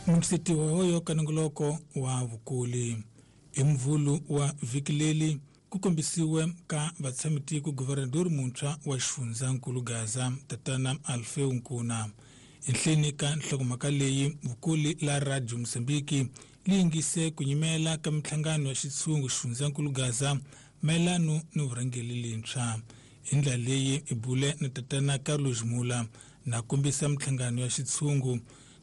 Mukisetiwa hoyo ka nongoloko wa vukuli hi mvulu wa vhiki leli ku kombisiwe ka vatshamitiko guvernador muntshwa wa xifundzankulu Gaza tatana Alfeu Nkuna. Enhleni ka nhlokomhaka leyi vukuli la Radio Mozambique li yingise ku nyimela ka minhlangano ya xitshungu xifundzankulu Gaza mayelano ni vurhangeri lintshwa. Hi ndlela leyi i bule na tatana Carlos Mula na kombisa minhlangano ya xitshungu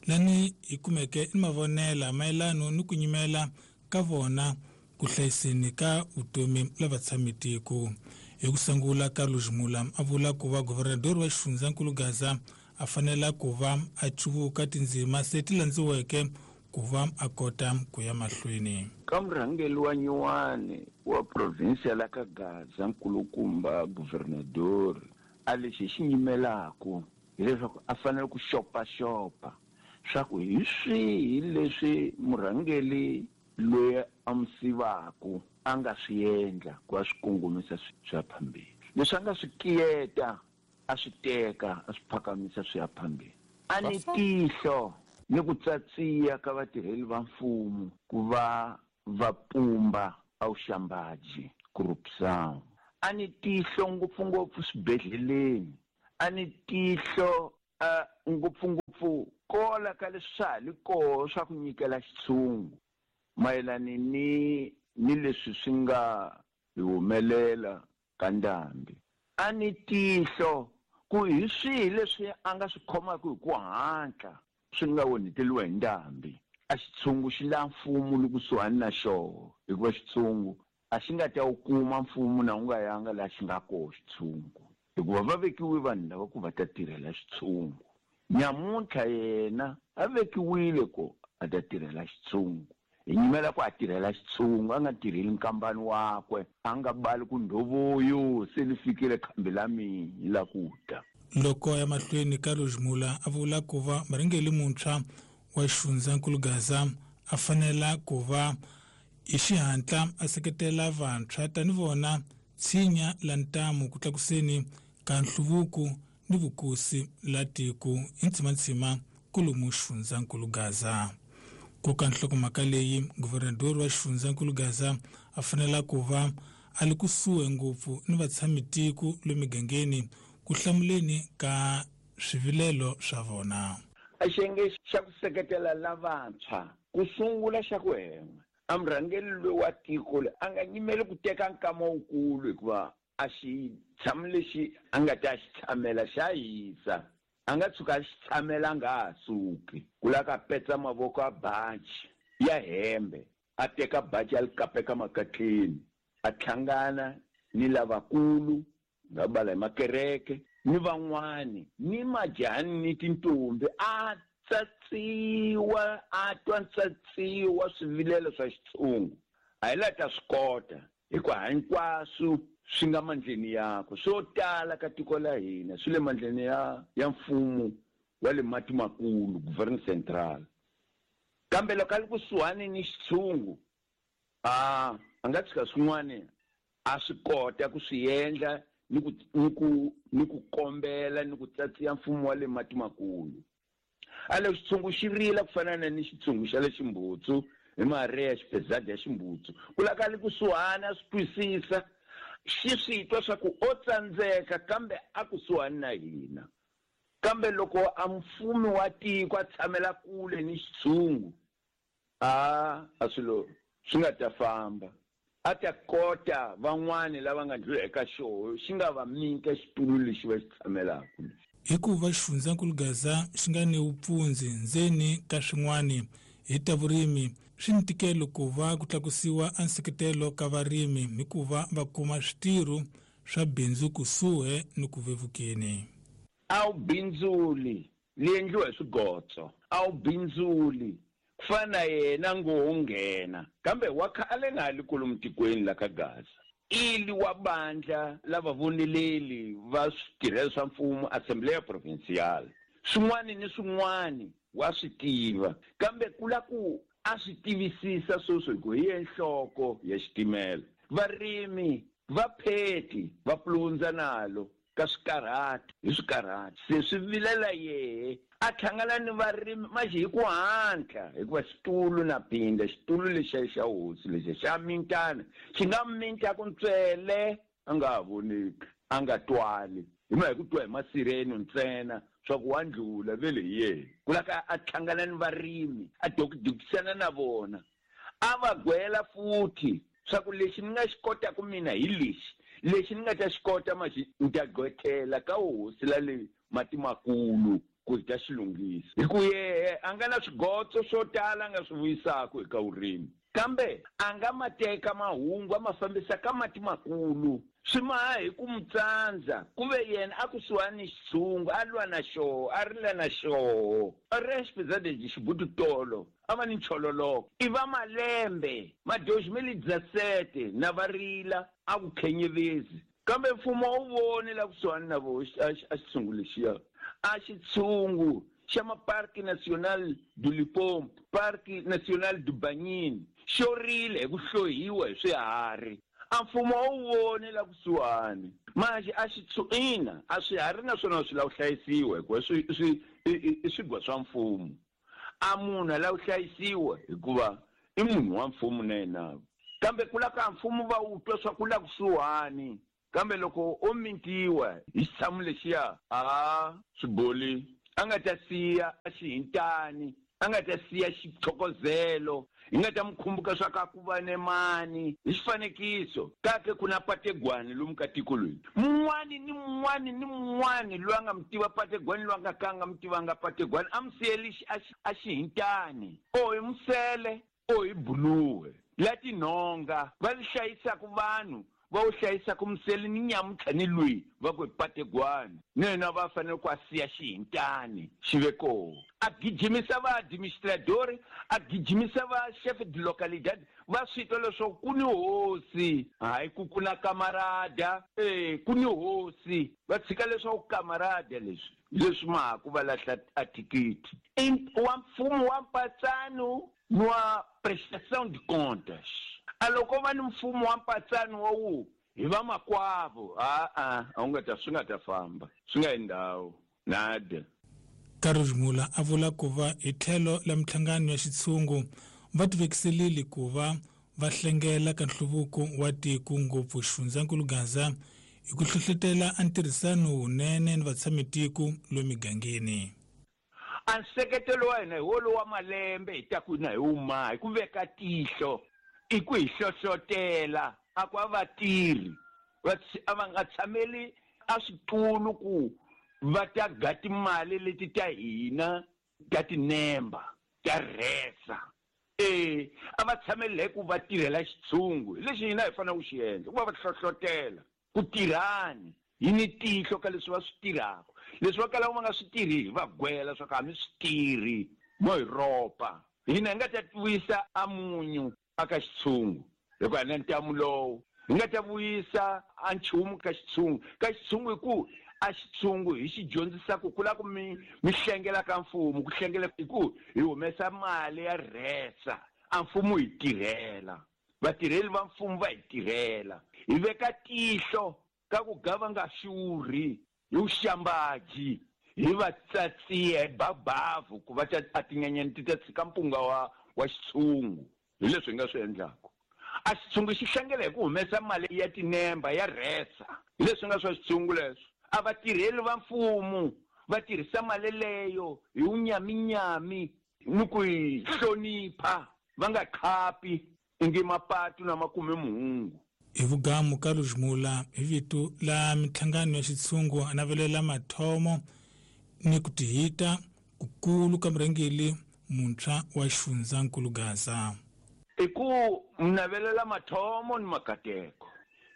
lani hi kumeke ni mavonela mayelano ni ku nyimela ka vona ku hlayiseni ka vutomi la vatshamitiko. Hi ku sungula Carlos Mula a vula ku va guvernador wa xifundzankulu Gaza a fanela ku va a cuvuka tindzima se ti landziweke ku va a kota ku ya mahlweni. Ka murhangeri wa nyuwani wa provinsia la ka Gaza nkulukumba guvernador a lexi xi nyimelaku hileswaku a fanele ku xopaxopa swa ku hi swihi leswi murhangeri loyi a mu sivaku a nga swi endla ku a swi kongomisa swi ya phambili, leswi a nga swi kiyeta a swi teka a swi phakamisa swi ya phambili. A ni tihlo ni ku tsatsiya ka vatirheli va mfumo ku va va pumba a vuxambaji, corrupção. A ni tihlo ngopfungopfu swibedhleleni, a ni tihlo ngopfungopfu kola ka leswi swa ha li koho swa ku nyikela xitshungu mayelani ni ni leswi swi nga hi humelela ka ndhambi. A ni tihlo ku hi swihi leswi a nga swi khomaka hi ku hatla swi nga onheteliwa hi ndhambi. A xitshungu xi la mfumo li kusuhani na xoho, hikuva xitshungu a xi nga ta wu kuma mfumo na wu nga yanga laha xi nga koho xitshungu, hikuva va vekiwe vanhu lava ku va ta tirhela xitshungu. Nyamuntlha yena a vekiwile ku a ta tirhela xitshungu. Hi nyimela ku a tirhela xitshungu, a nga tirheli nkambani wakwe, a nga bali ku ndhovoyo se li fikile khambi la mina la ku ta. Loko ya mahlweni Carlos Mula a vula ku va murhangeri muntshwa wa xifundzankulu Gaza a fanela ku va hi xihatla a seketela vantshwa tani vona tshinya la ntamu ku tlakuseni ka nhluvuko ni vukosi la tiko hi ntsimantsima kolomu xifundzankulu Gaza. Ku ka nhlokomhaka leyi guvernador wa xifundzankulu Gaza a fanela ku va a li kusuhi ngopfu ni vatshamitiko lo migangeni ku hlamuleni ka swivilelo swa vona. A xiyenge xa ku seketela lavantshwa ku sungula xa ku hen'we a murhangeri loyi wa tiko loyi a nga nyimeli ku teka nkama wukulu, hikuva a xitshamo lexi a nga ta xi tshamela xa hisa, a nga tshuka a xi tshamela a nga ha suki. Ku lava ka petsa mavoko a baji ya hembe, a teka baji a li kapeka makatleni, a tlhangana ni lavakulu nga bala hi makereke ni van'wani ni majani ni tintombi, a tsatsiwa a twa ntsatsiwa swivilelo swa xitshungu. A hi la ta swi kota, hikuva hinkwaswo swi nga mandleni yakwe. Swo tala ka tiko la hina swi le mandleni ya mfumo wa le mati makulu, Governo Central. Kambe loko a li kusuhani ni xitshungu, a nga tshika swin'wana a swi kota ku swi endla ni ku ni ku ni ku kombela ni ku tsatsiya mfumo wa le mati makulu. A loko xitshungu xi rila ku fana na ni xitshungu xa le Ximbutsu hi Maria xipezadi ya Ximbutsu, ku laka li kusuhani a swi twisisa, xi swi twa swa ku o tsandzeka kambe a kusuhani na hina. Kambe loko a mfumi wa tiko a tshamela kule ni xitshungu, a swilo swi nga ta famba. A ta kota van'wani lava nga ndlula eka xoho xi nga va nyika xitulu lexi va xi tshamelaka. Hikuva xifundzankulu Gaza xi nga ni vupfundzi ndzeni ka swin'wani hi ta vurimi, swi ni ntikelo ku va ku tlakusiwa a nseketelo ka varimi hikuva va kuma switirho swa bindzu kusuhi ni ku vevukeni. A wu bindzuli li endliwa hi swigotso, a wu bindzuli ku fana na yena ngo nghena, kambe wa khale nga ha li kolomu tikweni la ka Gaza. Ili wa bandla la vavoneleli va switirhelo swa mfumo, Assembleia Provincial. Swin'wani ni swin'wani wa swi tiva, kambe ku la ku a swi tivisisa sweswo hi ku hi ye nhloko ya xitimela. Varimi va pheti va pulundza nalo, ka swikarhati hi swikarhati se swi vilela yehe a hlangana ni varimi maxi hi ku hatla hikuva xitulu na pinda xitulu lexiya xa hosi lexiya xa mintana xi nga mintaku ntswele a nga ha voneki a nga twali hi ma hi ku twa hi masireno ntsena swa ku wa ndlula vele hi yena ku la ka a hlangana ni varimi a dokidokisana na vona a va gwela futhi swa ku lexi ni nga xi kotaka mina hi lexi lexi ni nga ta xi kota maxi ni ta gqwethela ka hosi la le mati makulu ku hi ta xi lunghisa hi ku yehe a nga na swigotso swo tala a nga swi vuyisaka eka vurimi kambe a nga ma teka mahungu a ma fambisa ka mati makulu swi maha hi ku mu tsandza ku ve yena a kusuhani ni xitshungu a lwa na xoho a rila na xoho a ri exipizadezi xibutu tolo a va ni nchololoko i va malembe ma 2017 na va rila a ku khenyevezi kambe mfumo a wu voni la kusuhani na vo a xitshungu lexiya a xitshungu xa ma Parque Nacional do Limpopo Parque Nacional do Banyini xo rile hi ku hlohiwa hi swiharhi a mfumo a wu voni la kusuhani manje a ina a swiharhi naswona swi lava ku hlayisiwa hikuva swi i swigwa swa mfumo a munhu a lava ku hlayisiwa hikuva i munhu wa mfumo na yena kambe ku la ka mfumo va wu twa swa ku la kusuhani kambe loko o mintiwa hi xitshamo lexiya a swiboli a nga ta siya a xihintani a nga ta siya xithokozelo hi nga ta mu khumbuka swa ka ku va ne mani hi xifanekiso kake ku na pategwani lomu ka tiko loyi mun'wani ni mun'wani ni mun'wani loyi a nga mu tiva pategwani loyi a nga ka a nga mu tivanga pategwani a mu siyeli a xihintani o hi musele o hi buluwe la tinhonga va li hlayisaka vanhu va wu hlayisaka musele ni nyamuntlha ni lweyi va ku hi pategwani ni yena va fanele ku a siya xihintani xi ve koho a gijimisa va administradori a gijimisa va chef de localidad va swi twa leswaku ku ni hosi hayi ku ku na kamarada e ku ni hosi va tshika leswaku kamarada leswi leswi mahaku va lahla a thikithi wa mfumo wa mpatsano ni wa prestação de contas a loko va ni mfumo wa mpatsano wa wu hi vamakwavo a-a a wu nga ta swi nga ta famba swi nga yi ndhawu nada. Carlos Mula a vula ku va hi tlhelo la minhlangano ya xitshungu va tivekiselile ku va va hlengela ka nhluvuko wa tiko ngopfu xifundzankulu Gaza hi ku hlohlotela a ntirhisano wunene ni vatshamitiko lomu migangeni. A nseketelo wa hina hi wolowo wa malembe hi ta ku na hi wuma hi ku veka tihlo i ku hi hlohlotela a ku a vatirhi a va nga tshameli a switulu ku va ta ga timali leti ta hina ta tinemba ta rhesa e a va tshameli hi ku va tirhela xitshungu hi lexi hina hi fanele ku xi endla ku va va hlohlotela ku tirhani hi ni tihlo ka leswi va swi tirhaka leswi va kalaka va nga swi tirhi hi va gwela swa ku a mi swi tirhi mo hi ropa hina hi nga ta vuyisa a munyu aka xitshungu hikuva hi na ntamu lowu hi nga ta vuyisa a nchumu ka xitshungu ka xitshungu hi ku a xitshungu hi xi dyondzisa ku ku la ku mi mi hlengela ka mfumo ku hlengela hi ku hi humesa mali ya rhesa a mfumo hi tirhela vatirheli va mfumo va hi tirhela hi veka tihlo ka ku ga va nga xurhi hi vuxambaji hi va tsatsiya hi babavu ku va ta a tinyenyani ti ta tshika mpunga wa xitshungu hi leswi hi nga swi endlaka a xitshungu xi hlangela hi ku humesa mali ya tinemba ya rhesa hi leswi nga swa xitshungu leswo a vatirheli va mfumo va tirhisa mali leyo hi wunyaminyami ni ku yi hlonipha va nga khapi ingi mapatu na makume muhungu. Hi vugamu Carlos Mula hi vito la minhlangano ya xitshungu a navelela mathomo ni ku tihita kukulu ka murhangeri muntshwa wa xifundzankulu Gaza. I ku navelela mathomo ni makateko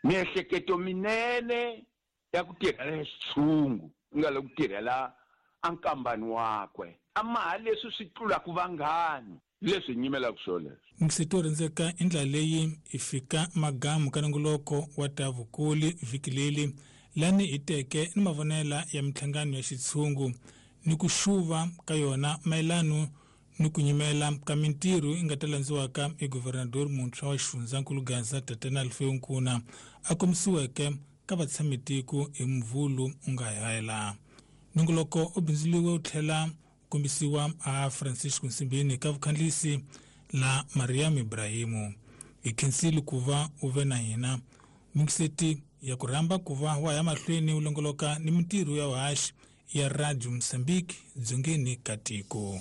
miehleketo minene ya ku tirhela xitshungu ku nga le ku tirhela a nkambani wakwe a maha leswi swi tlulaka vanghani leswi hi nyimelaka swo leswo. Mixito rindzeka i ndlela leyi hi fika magamu ka nongoloko wa ta vukuli vhiki leri lani hi teke ni mavonela ya minhlangano ya xitshungu ni ku xuva ka yona mayelano ni ku nyimela ka mintirho yi nga ta landziwaka hi guvernador muntshwa wa xifundzankulu Gaza Tatana Alfeu Nkuna a kombisiweke ka vatshamitiko hi Mvhulu u nga hela. Nongoloko u bindzuriwe u tlhela u kombisiwa a Francisco Nsimbini ka vukhandlisi la Mariam Ibrahimu. Hi khensile ku va u ve na hina. Mingiseti ya ku rhamba ku va wa ya mahlweni u longoloka ni mintirho ya vuhaxi ya Radio Mozambique dzongeni ka tiko.